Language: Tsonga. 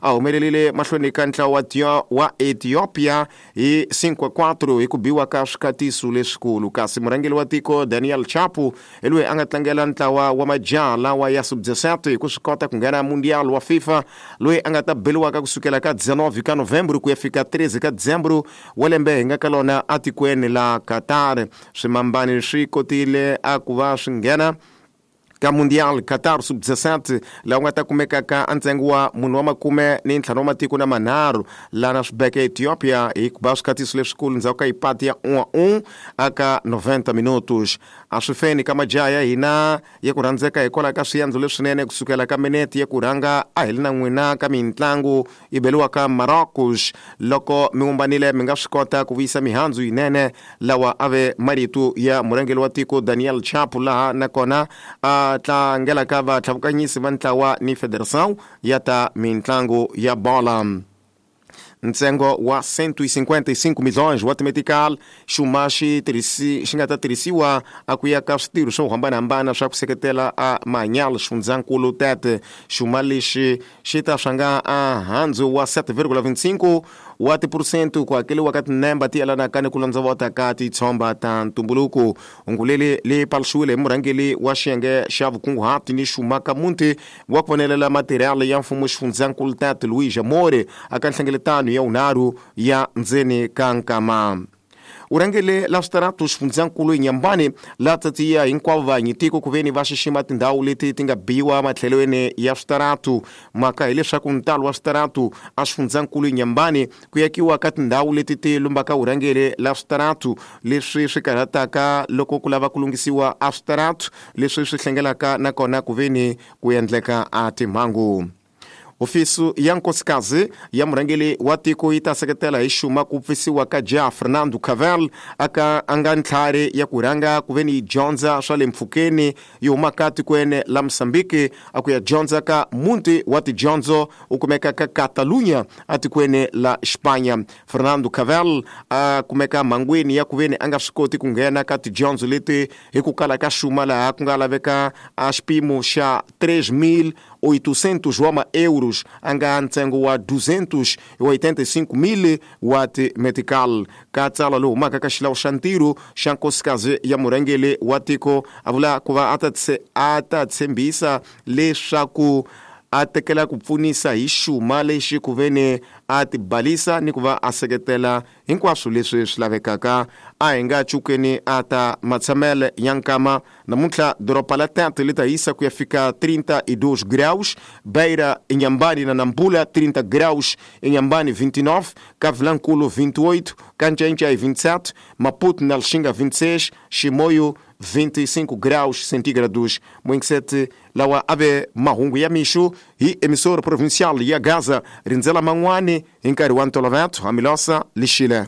A humelerile mahlweni ka ntlawa wa Ethiopia hi 5-4 hi ku biwa ka swikatiso leswikulu. Kasi murhangeri wa tiko Daniel Chapo hi loyi a nga tlangela ntlawa wa majaha lawa ya sub-17 hi ku swi kota ku nghena Mundial wa FIFA loyi a nga ta beliwaka kusukela ka 19 ka Novembro ku ya fika 13 ka Dzembro wa lembe hi nga ka lona atikweni la Qatar. Swimambani swi kotile a ku va swi nghena ka Mundial Qatar sub-17 laha u nga ta kumeka ka ntsengo wa munhu wa makume ni ntlhanu wa matiko na manharhu lana swi beke Ethiopia hi ku ba swikatiso leswikulu ndzhaku ka ipati ya 1-1 aka 90 minutos. A swi feni ka majaha ya hina ya ku rhandzeka hikwalaho ka swiendlo leswinene kusukela ka minete ya ku rhanga a hi li na n'wina ka mintlangu yi beliwaka Marocos. Loko mi vumbanile mi nga swi kota ku vuyisa mihandzu yinene. Lawa a ve marito ya murhangeri wa tiko Daniel Chapo laha nakona a tlangelaka vatlhavukanyisi va ntlawa ni Federação ya ta mintlangu ya bola. Ntsengo wa 155 milhões wa timetical xuma xi xi nga ta tirhisiwa a ku ya ka switirho swo hambanahambana swa ku seketela a mahanyalo xifundzankulu tete. Xuma lexi xi ta swanga a handzu wa 7,25 wa tiphurusente ku hakeliwa ka tinemba ti yelanaka ni ku londzovota ka titshomba ta ntumbuluko. Hungu leri li paluxiwile hi murhangeri wa xiyenge xa vukunguhati ni xuma ka muti wa ku vonelela matirhelo ya mfumo xifundzankulu Tate Luis Amore aka nhlengeletano ya vunharhu ya ndzeni ka nkama. U rhangele la switaratu xifundzankulu eNyambani la tsatsiya hinkwavo vanyi tiko ku veni va xixima tindhawu leti ti nga biwa matlhelweni ya switaratu. Mhaka hileswaku ntalo wa switaratu a xifundzankulu eNyambani ku yakiwa ka tindhawu leti ti lumbaka vurhangeri la switaratu leswi swi karhataka loko ku lava ku lunghisiwa a switaratu leswi swi hlengelaka nakona ku veni ku endleka a timhangu. Hofisi ya nkosikazi ya murhangeri wa tiko yi ta seketela hi xuma ku pfisiwa ka jaha Fernando Cavel aka a nga ntlhari ya ku rhanga ku veni yi dyondza swa le mpfhukeni yi humaka tikweni la Mozambique a ku ya dyondza ka muti wa tidyondzo u kumeka ka Catalunya atikweni la Xipanya. Fernando Cavel a kumeka mhangwini ya ku veni a nga swi koti ku nghena ka tidyondzo leti hi ku kala ka xuma laha ku nga laveka a xipimo xa 3.800 wa ma-euros a nga ntsengo wa 285,000 wa ti-metical. Ka tsalwa lowu humaka ka xilawu xa ntirho xa nkosikazi ya murhangeri wa tiko a vula ku va a ta tshembisa leswaku a tekela ku pfunisa hi xuma lexi ku veni a tibalisa ni ku va a seketela hinkwaswo leswi swi lavekaka. A hi nga cukeni a ta matshamele ya nkama. Namuntlha doroba la Tete li ta hisa ku ya fika 32 graus, Beira, Inhambane na Nampula 30 graus, Inhambane 29, ka Vilankulu 28, ka Ncencei 27, Maputo na Lixinga 26, Chimoio 25 graus centígrados. Moinksete lawa a ve mahungu ya mixo hi emissora provincial ya Gaza rindzela man'wani hi nkarhi wa ntolovelo. Hamilosa Lixile.